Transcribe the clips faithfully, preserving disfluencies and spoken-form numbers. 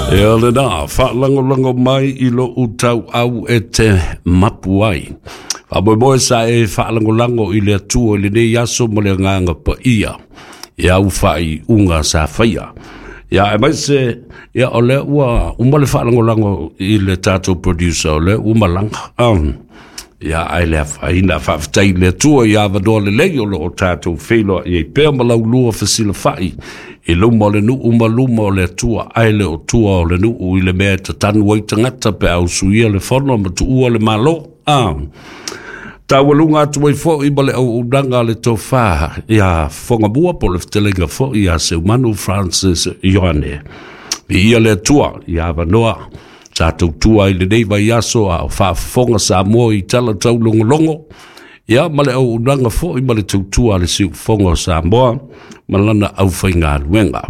Ia lena, faalagolago mai i lou tauau e te mapu ai. Faamoemoe sa e faalagolago i le Atua i lenei aso ma le agaga paia i au faaiuga sa faia. Ia aemaise, ia o lea ua uma le faalagolago i le tatou producer, o lea ua malaga. Um, ia ae le afaina, faafetai i le Atua i avanoa lelei o lo o tatou feiloai ai pea ma laulua fesilafai i luma o le nuu ma luma o le Atua, ae le o tua o le nuu i le mea e tatanu ai tagata pe a usuia le fono ma tuua le Malo. Ah. Taualuga atu ai foi ma le auaunaga a le tofa ia Fogamua po o le fetalaiga foi ia Seumanu Francis Ioane. Viia le Atua i avanoa sa tautua ai lenei vaiaso a o faafofoga Samoa i tala taulogologo, ia ma le auaunaga foi ma le tautua a le siufofoga o Samoa ma lana aufaigaluega.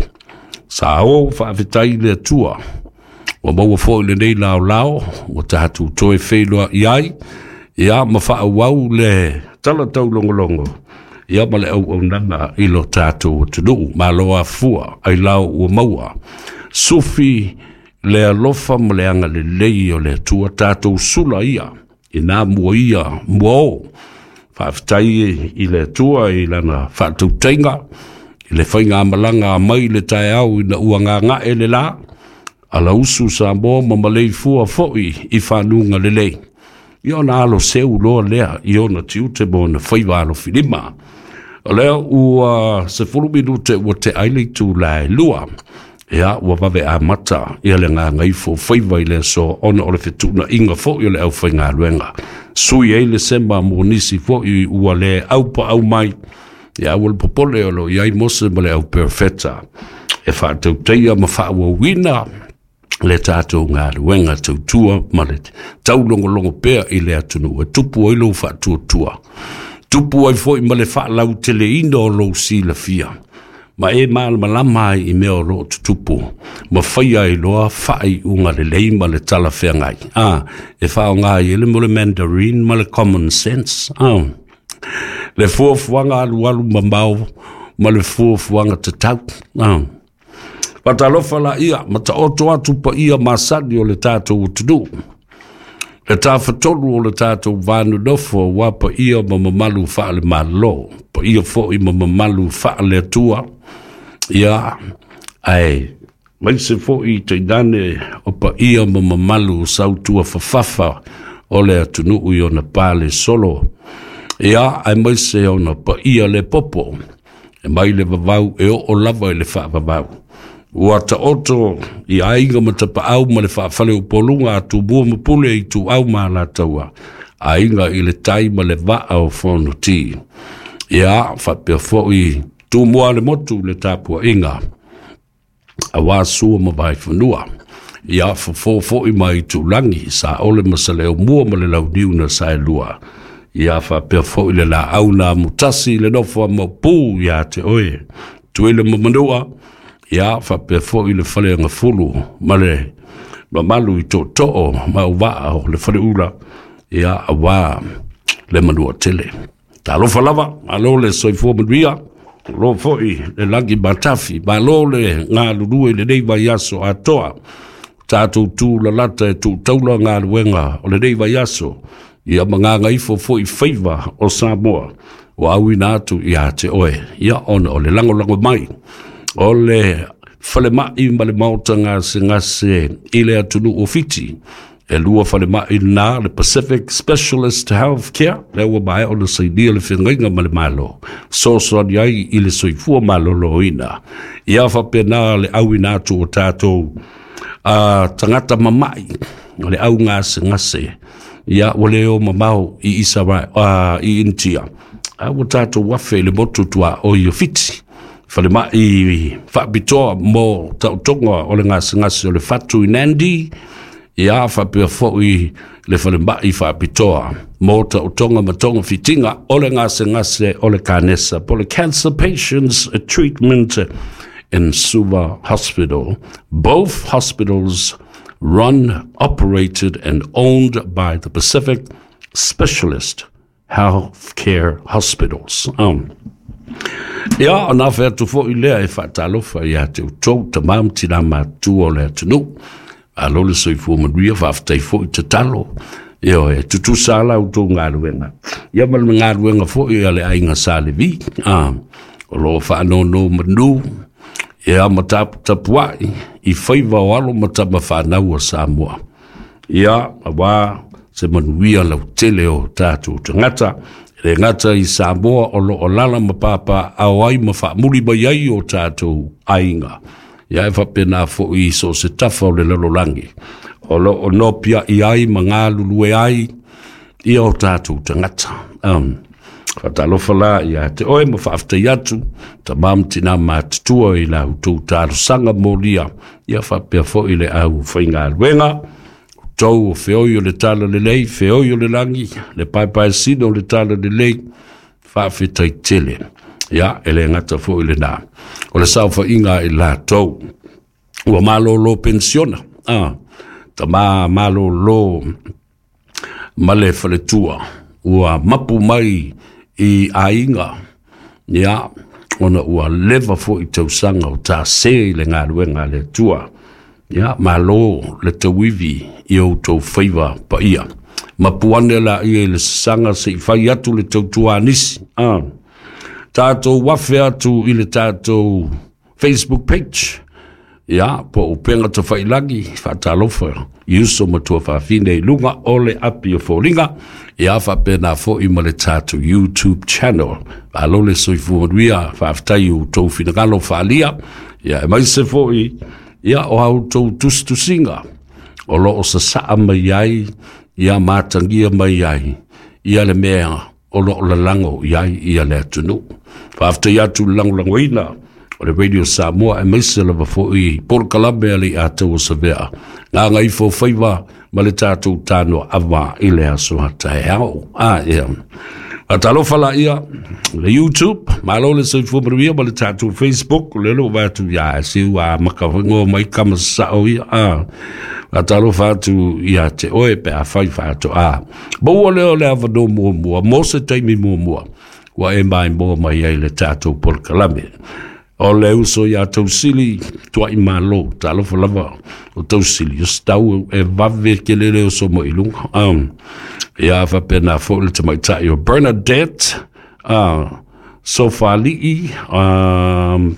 Sa o faafetai i le Atua ua maua foi lenei laolao ua tatou toe feiloai ai, ia ma faaauau le tala taulogologo ia ma le auaunaga i lo tatou atunuu. Malo afua ailao ua maua sufi le alofa ma le agalelei o le Atua, tatou sula ia i nā mua ia mua o. Faafetai i le Atua i lana faatautaiga i le faigamalaga mai le taeao ina ua gagae le la alausu Samoa ma maleifua foi i fanuga lelei. Ia ona alo seu loa lea i ona tiute ma ona faiva alofilima. O lea ua sefulu minute ua tea ai le itula e lua. Ia ua vave amata ia le gagaifo faiva i le aso ona o le fetuunaiga foi o le aufaigaluega. Sui ai le sema mo nisi foi ua le aupaau mai. Ia aua le popole, o lo o i ai Mose ma le au perofeta e faatautaia ma faaauauina le tatou galuega tautua ma le taulogologo pea i le atunuu e tupu ai lou faatuatua, tupu ai foi ma le faalauteleina o lou silafia, ma e malamalama ai i mea o lo o tutupu, ma faia ai loa faaiuga lelei ma le talafeagai. Ah, e faaaoga ai le mo le Mandarin ma le common sense. Ah, le fuafuaga alualu mamao ma le fuafuaga tatau. Ah. Faatalofa laia ma taoto atu paia masani o le tatou atunuu, le tafatolu o le tatou vanonofo, ua paia ma mamalu faale-Malo, paia foi ma mamalu faale-Atua, ia ae maise foi tainane o paia ma mamalu sautua fafafa o le atunuu i ona pale solo, ia aemaise ona paia le popo e mai le vavau e oo lava i le faavavau. Ua taoto i aiga ma tapaau ma le faafale upoluga a Tumua ma Pule i Ituau ma Alataua, aiga i le tai ma le vaa o Fonoti. Ia faapea foi Tumua le motu le tapuaiga aua Sua ma Vaifanua. Ia fofo foi mai Tulagi, Saole ma Saleaaumua ma le Launiu na Saelua. Ia faapea foi le laau na amutasi le nofo a Maopu ia te oe Tuele ma Manua. Ia faapea foi le Faleagafulu ma le mamalu i tootoo ma auvaa o le Faleula, ia aua le manua tele. Talofa lava, malo le soifua manuia, malo foi le lagi matafi, malo le galulue i lenei vaiaso atoa. Tatou tulalata e tuutaula galuega o lenei vaiaso, ia magagaifo foi faiva o Samoa, ua auina atu ia te oe, ia ona o le lagolago mai o le falemai ma le maota gasegase i le atunuu o Fiti. E lua falemai na le Pacific Specialist Healthcare, lea ua maea ona sainia le feagaiga ma le Malo, fesoasoani ai i le soifua maloloina. Ia faapena le auina atu o tatou uh, tagata mamai o le au gasegase, ia ua le o mamao i Israel, uh, i Initia. A ua tatou afe i le motu tuaoi o Fiti, falemai faapitoa mo taotoga o le gasegase o le fatu i Nandi, ia faapea foi le falemai faapitoa mo taotoga ma togafitiga o le gasegase o le kanesa, po le Cancer Patients Treatment in Suva Hospital. Both hospitals run, operated and owned by the Pacific Specialist Healthcare Hospitals. Um, Ia, ona afe atu fo'i lea e fa'atalofa iā te outou tamā ma tinā matutua o le atunuu. Malo le soifua manuia, faafetai fo'i tatalo. Ioe, e tutusa la outou galuega ia ma le galuega fo'i a le aiga Sa Levi, a o loo faanonomanu ia ma taputapua'i i faiva o alo ma tama fanau a Samoa, ia auā se manuia lautele o tatou tagata, e le gata i Samoa o loo alala ma papaaao ai ma faamuli mai ai o tatou aiga, ia e faapena fo'i i so o se tafa o le lalolagi o loo nopia'i ai ma galulue ai ia o tatou tagata. um, Faatalofa la ia te oe ma faafetai atu tamā ma tinā matutua i la outou talosaga molia, ia faapea fo'i le au faigaluega tou o feoi o le tala lelei, feoi o le lagi, le paepaesina o le tala lelei. Faafetai tele. Ia e le gata fo'i lenā o le saofaiga i latou ua malōlō penisiona, a tamā malōlō ma le faletua ua mapu mai i aiga, ia ona ua leva fo'i tausaga o tasē i le galuega a le Atua. Ia malo le tauivi i outou faiva paia. Mapu ane laia i le sasaga se'i fai atu le tautuā nisi. A tatou afe atu i le tatou Facebook page, ia po o Upega Tafailagi. Faatalofa i uso ma tuafafine i luga o le api o foliga, ia faapena fo'i ma le tatou YouTube channel. Malo le soifua manuia, faafetai i outou finagalo faalia, ia e maise fo'i ia o a outou tusitusiga o loo sasaa mai ai, ia matagia mai ai ia le mea o loo lalago i ai ia le atunuu. Faafetai atu le lagolagoina o le Radio Samoa, e maise lava fo'i polokalame a le Ataua Savea gagaifo faiva ma le tatou tanoa ava i le aso taeao. A ia faatalofa laia le YouTube, malo le soifua manuia, ma le tatou Facebook le loo vae atu ia seu a maka mai kama sa'o ia. A faatalofa atu ia te oe pe afai faatoā maua lea o le avanoa muamua mo se taimi muamua ua e maimoa mai ai le tatou polokalame. O le uso iā Tausili Tua'i Malo, talofa lava o Tausili o setau e vave kelele o so mai luga. um, ia faapena fo'i le tamaita'i o Bernadette uh, Sofali'i, um,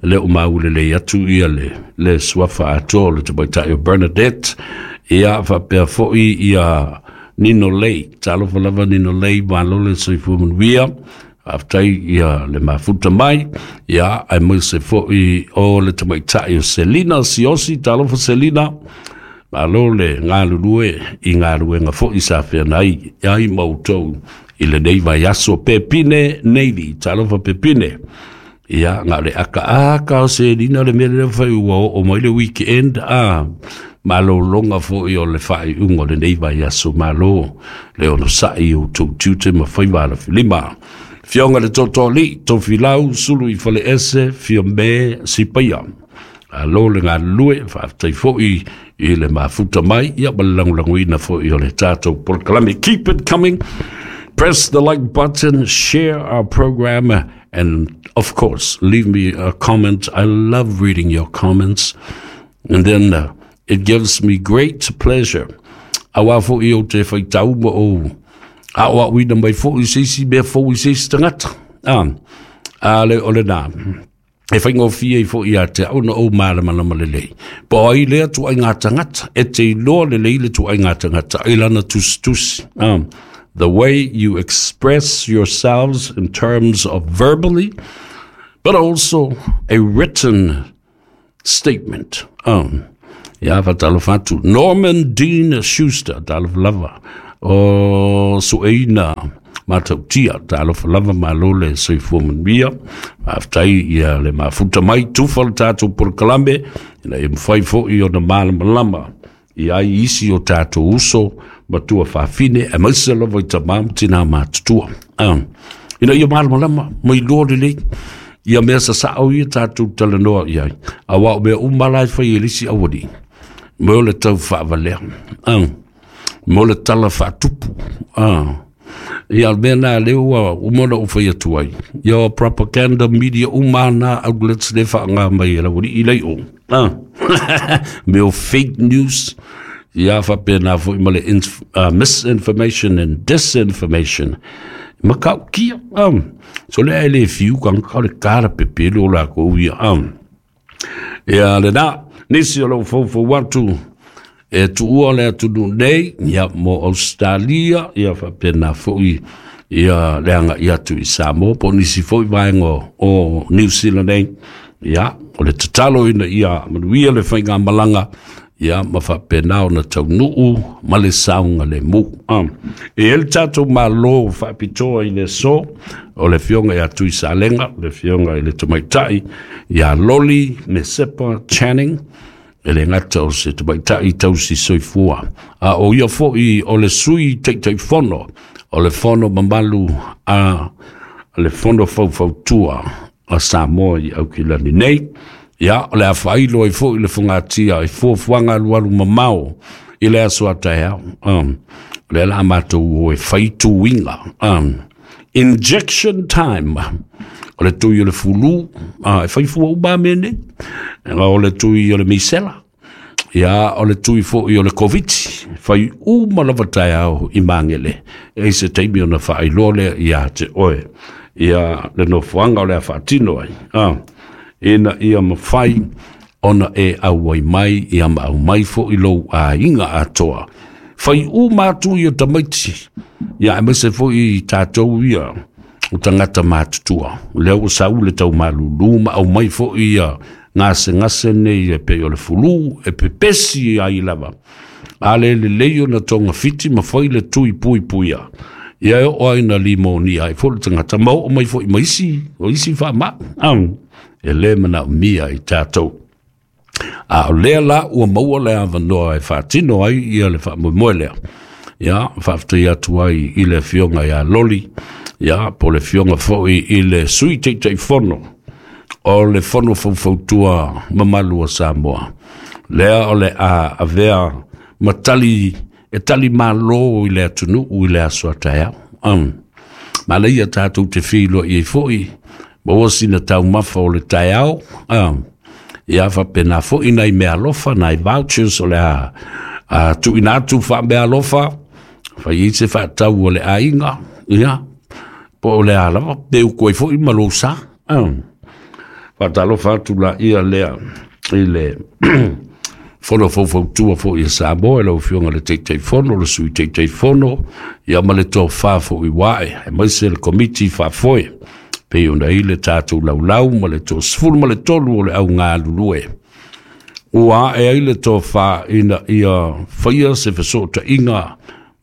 le o maulelei atu ia le, le suafa atoa o le tamaita'i o Bernadette. Ia faapea fo'i ia Nino Lei, talofa lava Nino Lei, malo le soifua manuia, faafetai ia le mafuta mai. Ia ae maise fo'i o le tamaita'i o Selina Siosi, talofa Selina, malo le galulue i galuega fo'i sa feagai ai ma outou i lenei vaiaso. Pepine Navy, talofa Pepine. Ia na o le akaaka o Selina le mea lea fai ua oo mai le weekend, a malōloga fo'i o le faaiuga o lenei vaiaso. Malo le onosa'i i outou tiute ma faiva alafilima. Fioga le Totoalii Tofilau Sulu i Faleese Fiame Sipaia, alo le galulue, faafetai fo'i i le mafuta mai ia ma le lagolagoina fo'i o le tatou polokalame. Keep it coming. Press the like button, share our program, and of course, leave me a comment. I love reading your comments. And then uh, it gives me great pleasure. Auā fo'i o te faitau ma o a'oa'oina mai fo'i se isi mea fou i se isi tagata. Ah, a le o lenā. E faigofie ai fo'i ia te au na ou malamalama lelei. Po o ai lea tuaiga tagata, e te iloa lelei le tuaiga tagata i lana tusitusi. Ah, the way you express yourselves in terms of verbally, but also a written statement. Um, ia faatalofa atu. Norman Dean Schuster, talofa lava. O sueina matautia, talofa lava, malo le soifua manuia. Faafetai ia le mafuta mai, tufa le tatou polokalame, ina ia mafai fo'i ona malamalama i ai isi o tatou uso ma tuafafine, e maise lava i tamā ma tinā matutua. Um, ina ia malamalama, mai loa lelei ia mea sasa'o ia tatou talanoa i ai. Auā o mea uma la e fai e le isi aualii, mo le tau faavalea, um, mo le tala faatupu, uh, Ia mea na le ua uma ona ou fai atu ai. Ia o propaganda media uma na outlets le whaanga mai e lawa i lei o. Ah. Mea o fake news. Ia whapena fo i ma le inf uh, misinformation and disinformation. Makau kia. Um. So le ai le fiu kang ka le kara pepele o la ko ia. Um. Ia le na, nisi o lau fofo watu. E tuua le atunu nei, ia mo Australia, ia whapena foi ia leanga i atu i Samoa, po nisi foi vaenga o New Zealand nei, ia, o le tatalo ina ia manuia le whainga malanga, ia ma whapena o na taunuu ma le saunga le mu. Um, e ele tātou malo whaapitoa i le so, o le fionga ia tui salenga, le fionga i le tamaitai, ia Loli Mesepa Channing, e le ngata o se tamaitai tausi soifua. A o ia foi o le sui teitai fono, o le fono mamalu a le fono faufautua a Samoa i Aukilani nei. Ia, o le a whailo ai foi le fungatia i fuafuaga alualu mamao i le aso a taeao. Um, o le la matou o e faituinga. Um, injection time. O le tui o le fulu, uh, e faifua uma mea nei. O le tui o le misela. Ia, o le tui foi o le COVID. Fai uma lava taeao i mangele. E se taimi ona whaailoa lea ia te oe. Ia le nofoanga o le a whaatino ai. Ah, ina ia mawhai ona e auai mai, ia ma au mai foi lou a inga atoa. Fai uma atu i o tamaiti. Ia e maise foi i tātou ia o tangata mātutua. Lea ua sau le tau malulu ma au mai foi ia ngase ngase nei e pe o le fulu e pepesi ai lava. A le le leio na tonga fiti ma fai le tui pui puia. Ia e o ai na limo ni ai fo le tangata mau o mai foi maisi o isi wha ma. Um, e le mana mia i tātou. A o lea la ua maua le awanoa e whaatino ai ia le whaamoemoe lea. Ia, whaaftai atu ai i le fionga ia Loli. Ia, po le fionga foi i le sui teitai fono. O le fono faufautua mamalu o Samoa. Lea o le a avea matali e tali malo i le atunuu i le aso a taeao. Um, ma leia tātou te whiloa i e foi, maua sina taumafa o le taeao. Um, ia whapena foi nai mea alofa, nai vouchers o le a, a tuina atu wha mea alofa, whai i se whaatau o le ainga, ia, po o le a lava, te uko e foi ma lou sa. Um, whaatalofa atu la ia lea i le fono faufautua foi e Samoa, e lau fionga le teitei fono, le sui teitei fono, ia ma le tō foi wae, e maise le komiti whaafoe, pe ona i le tātou laulau ma le tō sefulu ma le tolu o le au ngā lulue. Ua e ai le tō wha ina ia whaia se whasota inga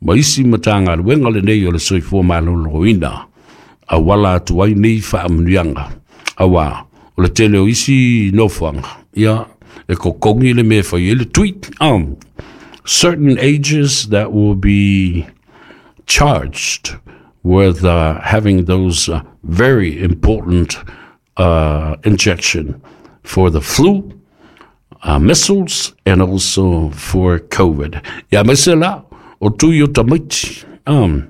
ma isi matanga luenga le nei o le soifua maloloina. A wala atu ai nei whaamanuianga. Awa, o le tele o isi nofoanga. Ia, e kokongi le mea whai e le tweet. Um, certain ages that will be charged with uh, having those uh, very important uh, injection for the flu, uh, measles, and also for COVID. Ia maise la, o tui o tamaiti. Um,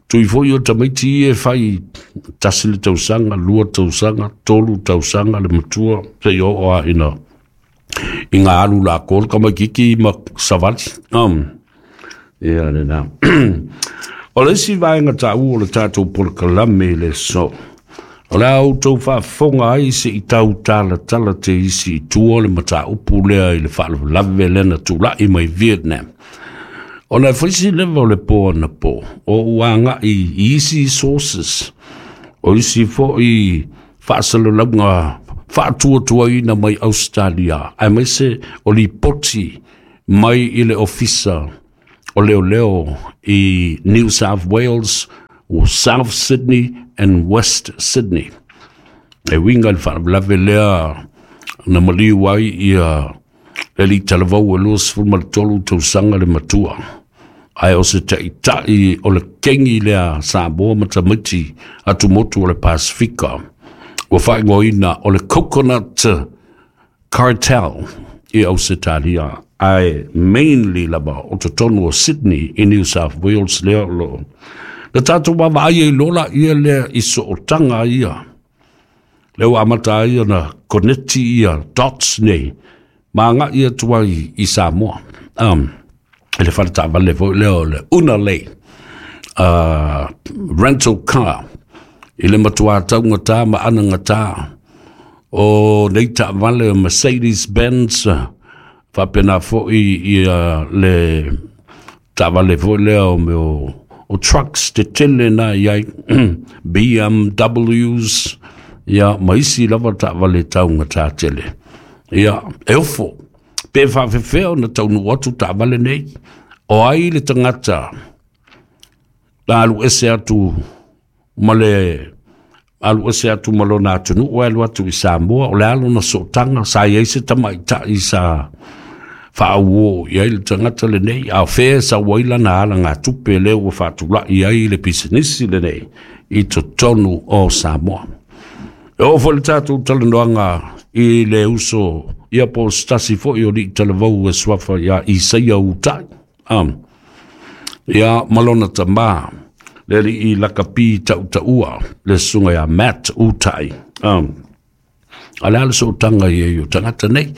tui foi o tamaiti e whai tasi le tausanga, lua tausanga, tolu tausanga, le matua, se i o a ina i ngā alu la kol, ka mai kiki ma savali. Um, ia le nā. O le isi vaenga tāu o le tātou polokalame i le so. O le au tau whaafonga ai se i tau tala tala te isi i tua le mataupu lea i le whaalawalave lena tūlai mai Vietnam. O le whaisi lewa o le pō ana pō, o uanga i isi sources, o isi foi whaasalalaunga whaatuatuaina mai Australia, ai mai se o li poti mai i le ofisa o leo leo i New South Wales, o South Sydney and West Sydney. E winga le whaalawalave lea na maliu ai ia le li talavau e lua sefulu ma le tolu tausaga le matua. Ae o se taʻitaʻi o le kegi lea Samoa ma tamaiti atumotu o le Pasifika. Ua faaigoaina o le Coconut Cartel i Ausetalia. Ae mainly lava o totonu o Sydney i New South Wales lea o loo Le tātou wawa ai i lola ia lea i sootanga ia. Le ua amata ai ona koneti ia dots nei. Ma nga ia tuai i Samoa. Um, le whare taavale foi lea o le Unalei uh, rental car. I le matua taugata ma anagata o nei taavale o Mercedes-Benz, faapena foi ia le taavale foi lea o mea o, o trucks tetele na i ai B M Ws, ia ma isi lava taavale taugata tele. Ia, e ofo, pe faafefea ona taunuu atu taavale nei, o ai le tagata la alu ese atu ma le alu ese atu ma lona atunuu e alu atu i Samoa, o le alo na sootanga, sa i ai se tamaitai sa faauo i ai le tagata lenei, a o fea sa ua i lana ala ngā tupe lea ua faatulai ai le pisinisi lenei i totonu o Samoa. E oo foi le tatou talanoaga i le uso ia po o se tasi foi o lii talavou e suafa ia Isaia Utai. Um, ia malona tamā le alii lakapi tautaua le susuga ia Matt Utai. Um, a le a le sootanga ia i o tagata nei.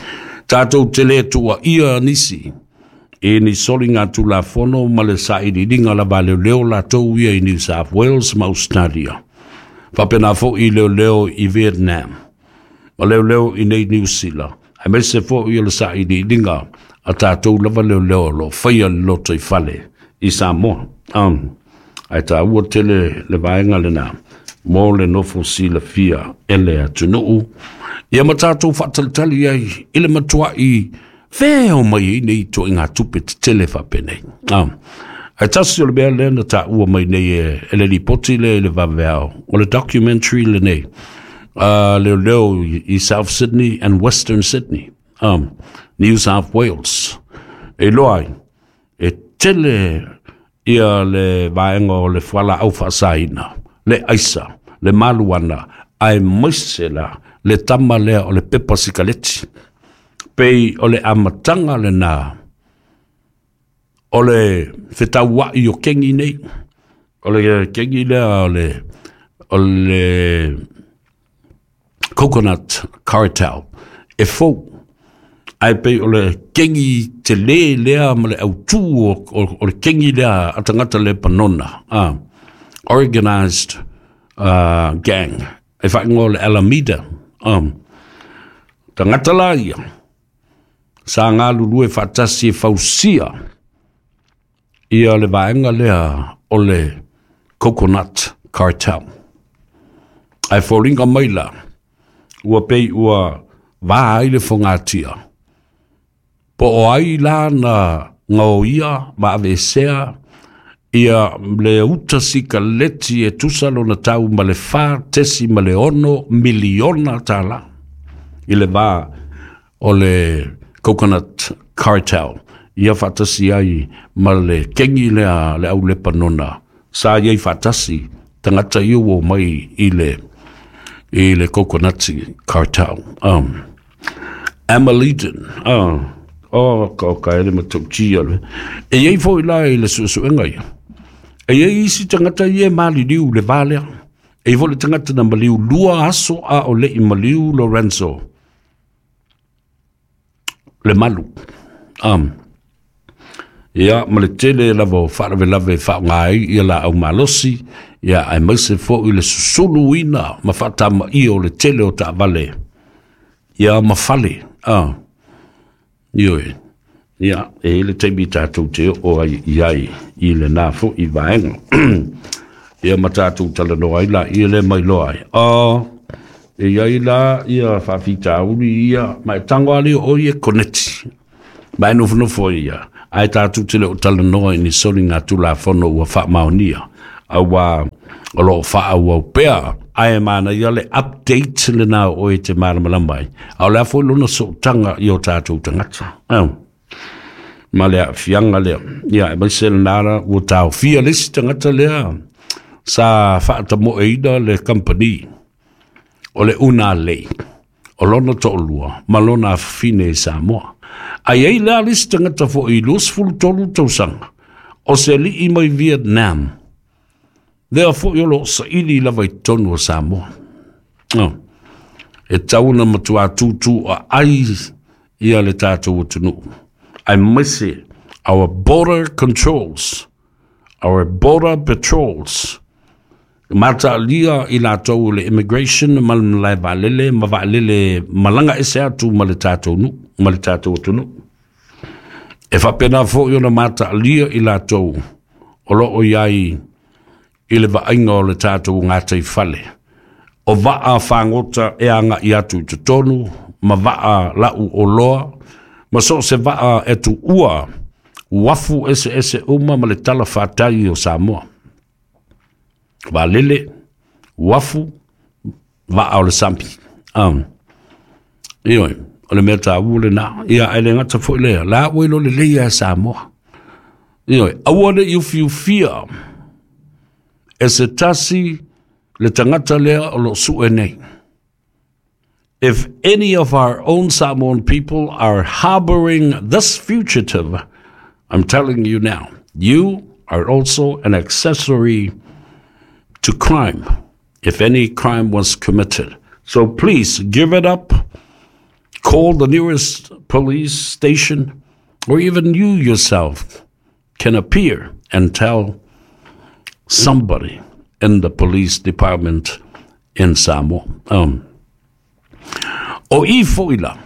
Tātou te le tua ia nisi e ni soli ngā tulafono ma le sailiiliga lava leoleo latou ia i New South Wales ma Australia. Faapena foi leoleo i Vietnam ma leoleo i nei New Zealand. Aemaise foi o le sailiiliga a tātou lava leoleo o lo faia le loto i fale i Samoa. Um, ae tāua tele le vaega lena mo le nofo silafia e le atunuu. Ia ma tātou faatalitali ai i le matuai fea o mai ai nei toʻiga tupe tetele faapenei. Um, ae tasi o le mea lea na tāua mai nei e, e le lipoti lea i le vaveao o le documentary lenei uh, leoleo i South Sydney and Western Sydney, um, New South Wales. E loa ai, e tele ia le vaega o le fualaau faasaina, le aisa, le maluana, ae maise la le tama lea o le pepa sikaleti. Pei o le amataga lena o le fetaua'i o kengi nei, o le kengi lea o le, o le coconut cartel e fou. Ae pei o le kengi te lē lea ma le autū o, o, o le kengi lea a tagata le panona, ah, organized uh, gang e faaigoa o le Alameda. Um, tagata la ia sa galulue faatasi e fausia ia le vaega lea o le coconut cartel. Ae foliga mai la ua pei ua vā ai le fogatia po o ai la na gaoia ma aveesea ia le uta sikaleti e tusa lona tau ma le fa tesi ma le ono miliona tālā i le vā o le coconut cartel ia faatasi ai ma le kengi lea le au lepanona sa iai faatasi tagata ia ua mai i le i le coconut cartel. Um, Amalidin, uh, oh, ka ka ele matautia le. E iai foi la i le suesuega ia. E iai isi tagata ia e maliliu le vā lea. E iai foi le tagata na maliu lua aso a o leʻi maliu Lorenzo le malu. Um, ia ma le tele lava o faalavelave e faaaoga ai ia laau malosi, ia aemaise foi le susuluina ma faatamaia o le tele o taavale ia ma fale. Ah, ioe. Ia, e i le taimi tātou te oo ai i ai i lenā foi vaega. Ia ma tātou talanoa ai la ia le mai loa ai. Oh, e iai la ia faafitauli ia, ma e tago a lea o ia koneti. Ma e nofonofo ai ia. Ae tātou te le o talanoa i ni soli ngā tulafono ua faamaonia. Auā o loo faaauau pea, ae mana ia le update lenā o oe e te malamalama ai. A o le a foi lona sootaga i o tātou tagata. Oh. Ma le aafiaga lea. Ia, aemaise lenā la ua taofia le isi tagata lea sa faatamoeina le company o le Unalei o lona toalua ma lona afafine i Samoa. Ae ai lea le isi tagata foi i luasefulu tolu tausaga o se alii mai Vietnam Lea fo'i o loo saili lava i totonu o Samoa. Oh. E tatau ona matuā tūtū aai ia le tatou atunuu. Aemaise our border controls, our border patrols. Mataalia i latou le immigration ma le malae vaalele ma vaalele malaga ese atu ma le tatou nuu, ma le tatou atunuu. E faapena foi ona mataalia i latou o loo i ai i le vaaiga o le tatou gataifale. O vaa fagota e agai atu i totonu ma vaa lau oloa ma so o se vaa e tuua uafu eseese uma ma le talafatai o Samoa. Vaalele, uafu, vaa o le sami. Um, ioe, o le mea taua lena. Ia, ae le gata foi lea, la ua iloa lelei e Samoa. Ioe, aua ne i ufiufia e se tasi le tagata lea o loo sue nei. If any of our own Samoan people are harboring this fugitive, I'm telling you now, you are also an accessory to crime, if any crime was committed. So please give it up. Call the nearest police station, or even you yourself can appear and tell somebody in the police department in Samoa. Um, o i fo'i la,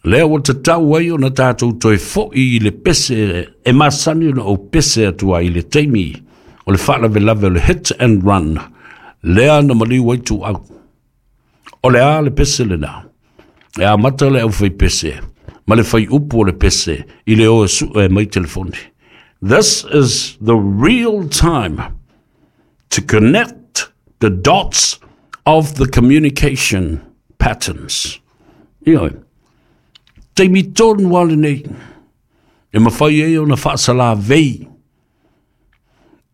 lea ua tatau ai ona tatou toe fo'i i le pese e masani ona ou pese atu ai i le taimi o le faalavelave o le hit and run, lea na maliu ai Tuuau. O le a le pese lena? E amata le au pese ma le fai upu o le pese i le o e sue mai telefoni. This is the real time to connect the dots of the communication patterns. Ioe, taimi tonu lava lenei e mafai ai ona faasalavei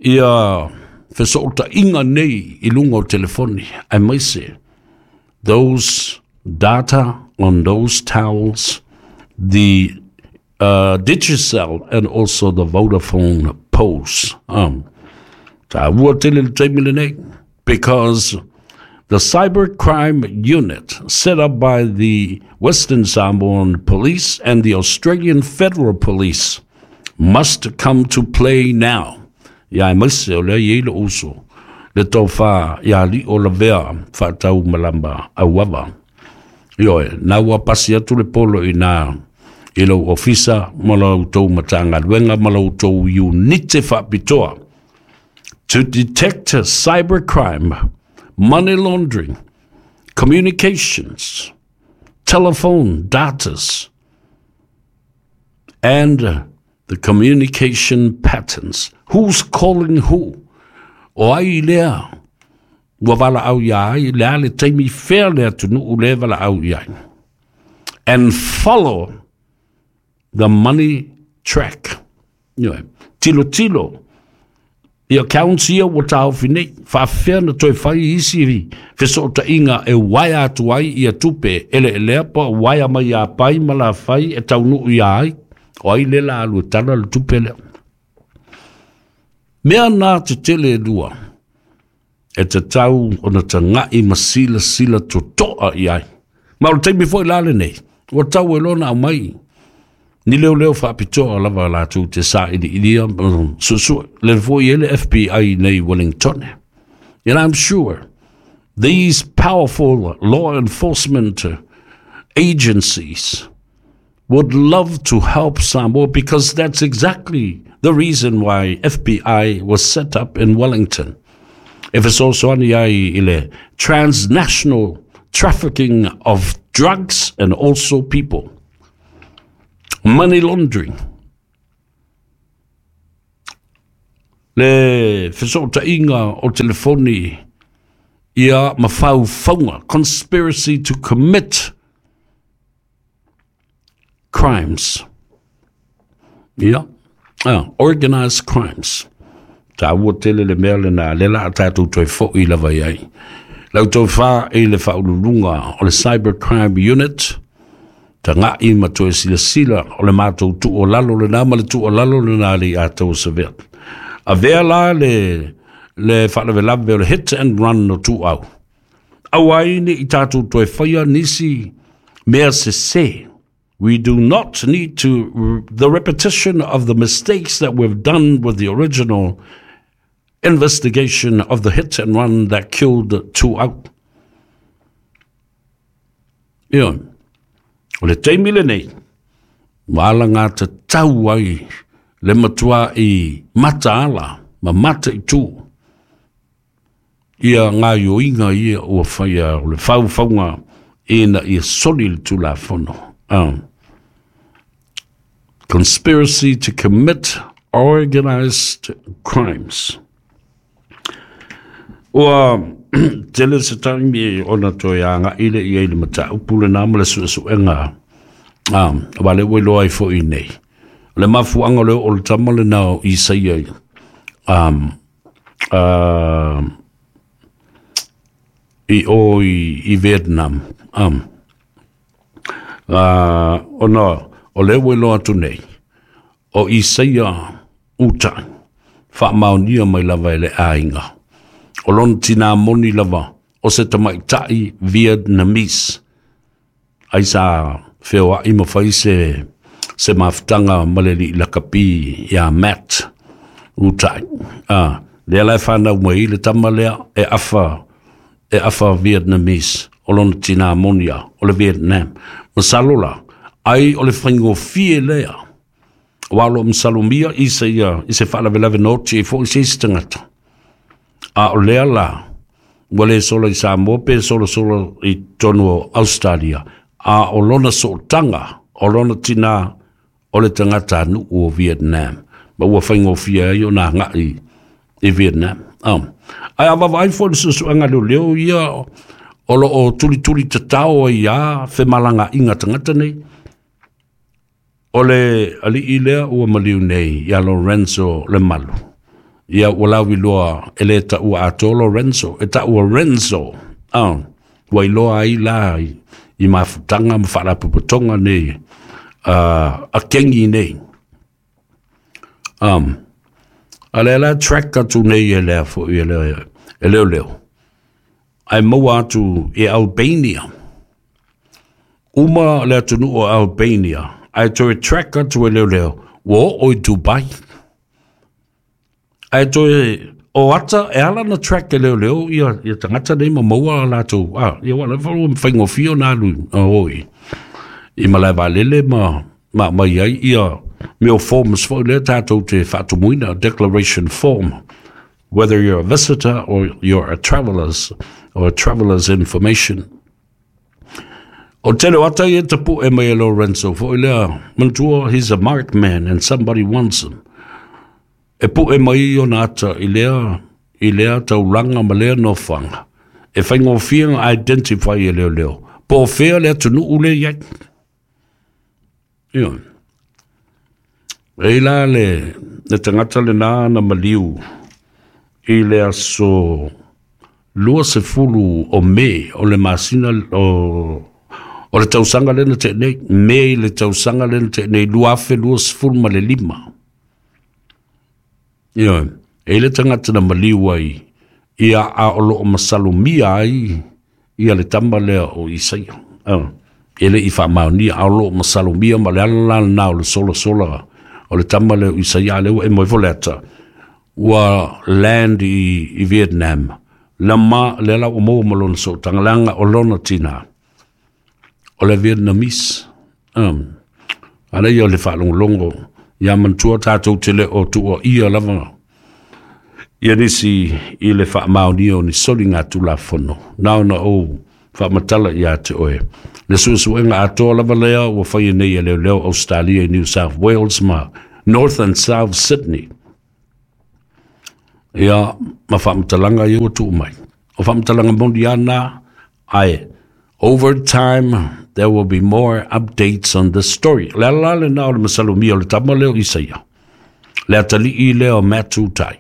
ia fesootaiga nei i luga o telefoni, aemaise those data on those towels, the uh, Digicel and also the Vodafone posts. Um, taua tele le taimi lenei, because the cybercrime unit set up by the Western Samoan Police and the Australian Federal Police must come to play now. Ia aemaise o lea e i ai lou uso le tofa ia Lio Lavea faatau malama auava. Ioe, na ua pasi atu le polo i nā i lou ofisa ma la outou Matagaluega ma la outou unite faapitoa to detect cybercrime, money laundering, communications, telephone datas, and the communication patterns. Who's calling who? O ai lea ua valaau ia ai, le a le taimi fea le atunuu le valaau i ai. And follow the money track. Ioe, tilo tilo i accounts ia ua taofi nei, faafefea na toe fai isi fesootaiga e uaea atu ai ia tupe eleelea pa uaea mai ia pai ma lafai e taunuu ia ai, o ai le la alu e tala le tupe lea. Mea na tetele e lua, e tatau ona tagai ma silasila totoa i ai. Ma o le taimi foi la lenei, ua tau e lona aumai ni leoleo faapitoa lava latou te sailiilia suesue le foi e le F B I nei Wellington. And I'm sure these powerful law enforcement agencies would love to help Samoa, because that's exactly the reason why F B I was set up in Wellington. E fesoasoani ai i le transnational trafficking of drugs and also people. Money laundering. Le fesootaiga o telefoni ia ma faufauga, conspiracy to commit crimes. Ia, ah, organized crimes. Taua tele le mea lena, le la a tatou toe fo'i lava i ai. Lau tofa i le faauluuluga o le Cybercrime Unit, taga'i ma toe silasila o le matou tuualalo lena ma le tuualalo lena le ia tou saveat. Avea la le, Le faalavelave o le hit and run o Tuuau. Aua ai ne i tatou toe faia nisi mea sesē. We do not need to the repetition of the mistakes that we've done with the original investigation of the hit and run that killed Tuuau. Ia, o le taimi lenei, ua alagatatau ai le matua'i mataala ma mataitū ia gaoioiga ia ua faia o le faufauga ina ia soli le Tulafono. Um, conspiracy to commit organized crimes. Ua tele se taimi ona toe aga'i le i ai le mataupu lenā ma le suesuega um, wa le ua iloa ai foʻi nei. O le mafuaga o le oo o le tama lenā o Isaia um, uh, i o i, i Vietnam. Um, uh, ona o le ua iloa atu nei, o Isaia Utai, faamaonia mai lava e le aiga. O lona tinā moni lava o se tamaitai Vietnamese. Ai sa feoai ma fai se, se mafutaga ma le alii lakapi iā Matt Utai. Ah, lea la e fanau mai le tama lea e afa, e afa Vietnamese o lona tinā moni a o le Vietnam. Masalo la, ai o le faigofie lea. Aua o loo masalomia isa ia i se faalavelave na oti ai foʻi se isi tagata. A o lea la, ua lē sola i Samoa pe solasola i totonu o Australia, a o lona sootaga, o lona tinā, o le tagatanuu o Vietnam. Ma ua faigofie ai ona agaʻi i Vietnam. Um, ae a vaavaai foi le suesuega leoleo ia o loo tulituli tatao ai iā femalagaaiga tagata nei, o le alii lea ua maliu nei iā Lorenzo Lemalu. Ia ua lauiloa e lē taʻua atoa Lorenzo, e taʻua Renzo. Ah, ua iloa ai la i, i mafutaga ma faalapotopotoga nei uh, a kegi nei. Um, a lea la track atu nei e lea foʻi e leo, e leoleo. Ae maua atu e Albania. Uma le atunuu o Albania, ae toe track atu e leoleo, ua oo i Dubai. Ae toe o ata e ala na track e leoleo ia, ia tagata nei ma maua latou. Ah, ia ua lava ua faigofie ona alu oi i malae vaalele ma ma mai ai ia mea o forms foʻi lea tatou te faatumuina, declaration form, whether you're a visitor or you're a traveler's or a traveler's information. O tele o ata ia tapuʻe mai e Lorenzo foʻi lea, manatua, he's a marked man and somebody wants him. E puʻe mai ona ata i lea, i lea taulaga ma lea nofoaga. E faigofie ona identify e leoleo. Po o fea le atunuu le i ai. Ia. E la le, le tagata lenā na maliu i le aso lua sefulu o Me o le masina o, o le tausaga lena teʻe nei, Me i le tausaga lena teʻe nei, lua afe lua sefulu ma le lima. Ia, e le tagata na maliu ai, ia a o loo masalomia ai ia le tama lea o Isaia. Uh, e le i faamaonia, a o loo masalomia ma le ala la lenā o le solasola o le tama lea o Isaia lea ua e mai foi le ata ua land i, i Vietnam. La ma le la ua maua ma lona sootaga leaga o lona tinā o le Vietnamese. Um, a lea ia o le faalogologo ia manatua tatou te le o tuuaia lava ia nisi i le faamaonia o ni soliga tulafono. Na ona ou faamatala iā te oe. Le suesuega atoa lava lea ua faia nei e leoleo Australia i New South Wales ma North and South Sydney. Ia, ma faamatalaga ia ua tuu mai. O faamatalaga moni ana, ae over time there will be more updates on this story. Le ala lenā o le masalomia o le tama lea o Isaia. Le atalii lea o Matt Utai.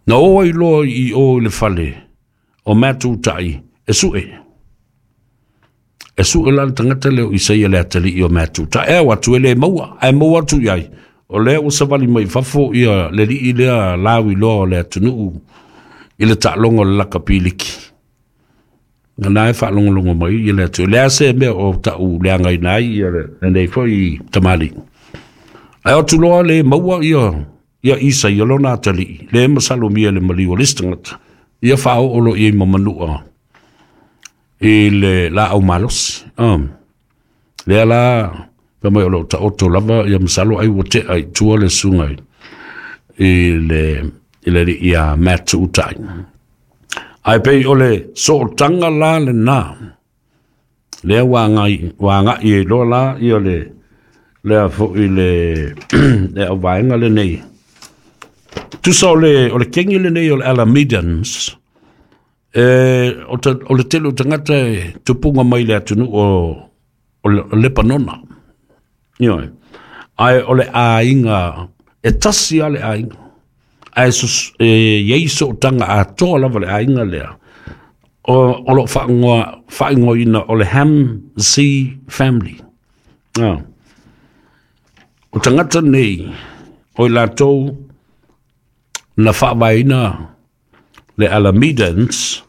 Na oo ai loa i o i le fale o Matt Utai e sue. E sue la le tagata lea o Isaia le atalii o Matt Utai. E au atu e le maua, ae maua atu i ai. O lea ua savali mai fafo ia le alii lea lauiloa o le atunuu i le taaloga o le lakapiliki. Na e faalogologo mai ia le atu. Le a se mea o ta'u leagaina ai ia lenei foi tamalii. Ae o atu loa le maua ia ia Isa ia lona atalii, le masalomia le maliu o le isi tagata, ia faaoo loa i ai ma manua i le laau malosi. Um, lea la fai mai o loo taoto lava ia masalo ai ua tea i tua le susuga i le i le alii ia Matt Utai. Ae pei o le sootaga la lena lea ua agai ua agai ai loa la ia le lea foi le le auvaega lenei. Tusa o le o le kegi lenei o le Alamedans, e, o, ta, o le tele o tagata e tupuga mai le atunuu o, o, o Lepanona. Ioe. Ae o le aiga, e tasi lava le aiga. Ae sus, e iai sootaga atoa lava le aiga lea. O, o loo faaigoa, faaigoaina o le Ham Z Family. Ah. O tagata nei, o i latou na faavaeina le Alamedans,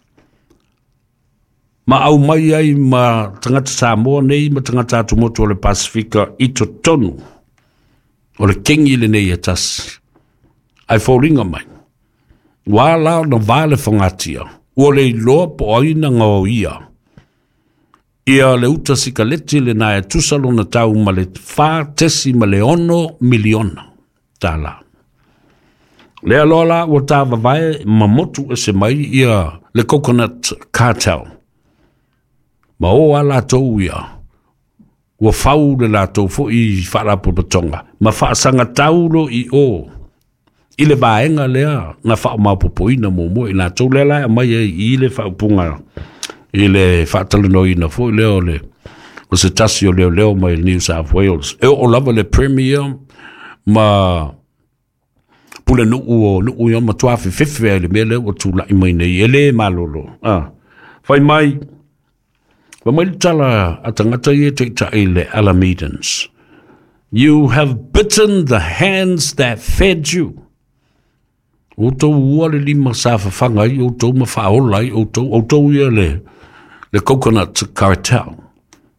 ma aumai ai ma tagata Samoa nei ma tagata atumotu o le Pasifika i totonu o le kegi lenei e tasi. Ae foliga mai, ua la ona va le fogatia, ua le iloa po o ai na gaoia ia le uta sikaleti lena e tusa lona tau ma le fa tesi ma le ono miliona tālā. Lea loa la ua tāvavae ma motu ese mai ia le Coconut Cartel. Ma o a latou ia, ua fau le latou foi faalapotopotoga ma faasagatau lo i o i le vaega lea na faamaopoopoina muamua i latou lea la e aumai ai i le faaupuga i le faatalanoaina foi lea o le o se tasi o leoleo mai le New South Wales. E oo lava le Premier ma pulenuu o nuu ia matua fefefe ai le mea lea ua tula'i mai nei e lē malolo. Ah. Fai mai, fai mai le tala a tagata ia taita'i le Alamedans. You have bitten the hands that fed you. Outou ua le lima sa fafaga ai outou ma faaola ai outou, outou ia le, le Coconut Cartel.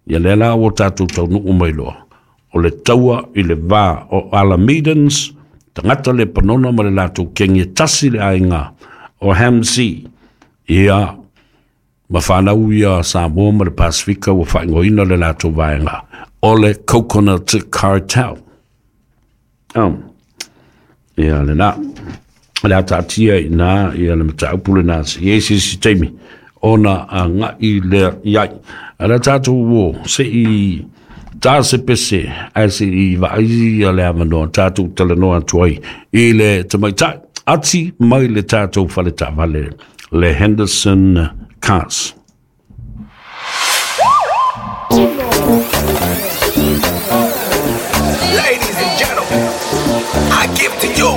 Ia lea la ua tatou taunuu mai loa. O le taua i le va o Alamedans, tagata Lepanona ma le latou kegi e tasi le aiga o Hamsi. Ia, ma whanau ia Samoa ma le Pasifika ua faaigoaina le latou vaega o le Coconut Cartel. Um, ia lena. Le a taatia i nā ia le mataupu lena se i ai se isi taimi ona agai lea i ai. A le tatou ō se i tā se pese ae se i vaai ia le avanoa tatou talanoa atu ai i le tamaitai ati mai le tatou fale taavale le Henderson Cars. Ladies and gentlemen, I give to you